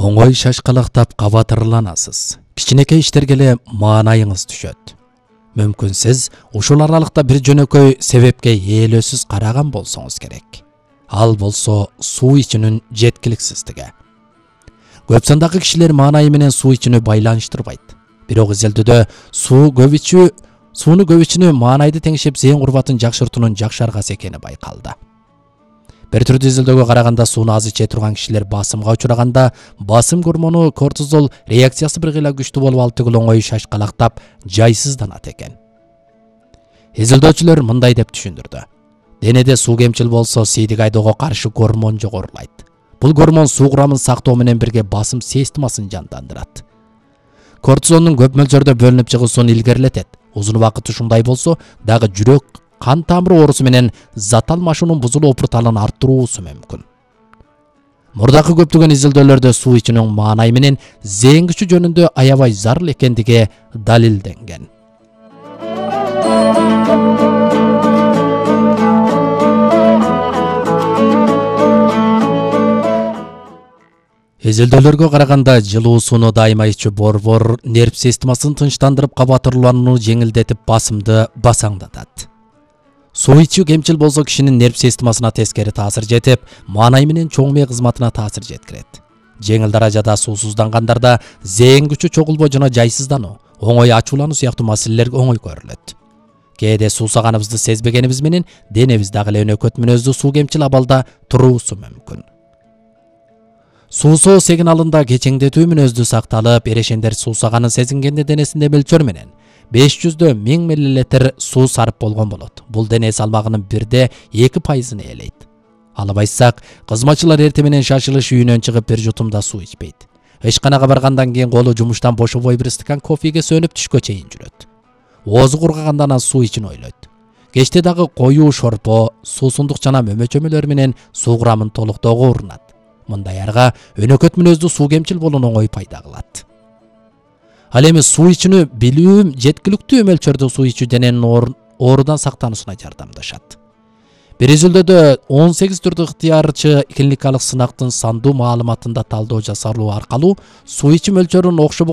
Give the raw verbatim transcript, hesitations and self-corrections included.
Оңой шашкалактап кабатырланасыз. Кичинекей иштерге эле маанайыңыз түшөт. Мүмкүн сиз ушул аралыкта бир жөнөкөй себепке ээлөөсүз караган болсоңуз керек. Ал болсо суу ичүүнүн жеткиликсиздиги. Көп сандагы кишилер маанайы менен суу ичүүнү байланыштырбайт. Бирок изилдөөдө суу көп ичүү, сууну көп ичүүнү маанайды теңшеп зээн курбатын жакшыртуунун жакшы аргасы экени байкалды. Бир түрдүү изилдөөгө караганда сууну аз иче турган кишилер басымга учураганда басым гормону кортизол реакциясы бир кыйла күчтүү болуп алып түгүл оңой шашкалактап жайсызданат экен. Изилдөөчүлөр мындай деп түшүндүрдү. Денеде суу кемчил болсо сийдик айдоого каршы гормон жогорулайт. Бул гормон суу курамын сактоо менен бирге басым системасын жандандырат. Кортизолдун көп мөлчөрдө бөлүнүп чыгуусун илгерилетет. Узун убакыт ушундай болсо дагы жүрөк кан тамыр оорусу менен зат алмашуунун бузулуу опурталын арттыруусу мүмкүн. Мурдакы көптөгөн изилдөөлөрдө суу ичүүнүн маанай менен зээн күчү жөнүндө аябай зарыл экендиги далилденген. Изилдөөлөргө караганда жылуу сууну дайыма ичүү борбор нерв системасын тынчтандырып кабатырланууну жеңилдетип басымды басаңдатат. Суу ичүү кемчил болсо кишинин нерв системасына тескери таасир жетип, маанай менен чоң мээ кызматына таасир жеткирет. Жеңил даражада суусуздангандарда зээн күчү чогулбоо жана жайсыздануу, оңой ачуулануу сыяктуу маселелер оңой көрүлөт. Кээде суусаганыбызды сезбегенибиз менен денебиз дагы эле өнөкөт мүнөздүү суу кемчил абалда туруусу мүмкүн. Суусоо сигналында кечеңдетүү мүнөздүү сакталып, эрешендер суусаганын сезингенде денесинде мөлчөр менен беш жүздөн миң миллилитр суу сарып болгон болот. Бул дене салмагынын бирде эки пайызын ээлейт. Алып айтсак, кызматчылар эртең менен шашылыш үйүнөн чыгып бир жутумда суу ичпейт. Ишканага баргандан кийин колу жумуштан бошобой бир стакан кофеге сөнүп түшкө чейин жүрөт. Оозу кургагандан анан суу ичин ойлойт. Кечте дагы коюу шорпо, суусундук жана мөмө чөмөлөр менен суу курамын толуктоого урунат. Мындай арга өнөкөт мүнөздүү суу кемчил болууну оңой пайда кылат. Ал эми суу ичүүнү билүү жеткиликтүү мөлчөрдө суу ичүү дененин оорудан сактануусуна жардамдашат. Бир изилдөөдө он сегиз түрдүү ыктыярчы клиникалык сынактын сандуу маалыматында талдоо жасалуу аркылуу суу ичүү мөлчөрүнүн окшогон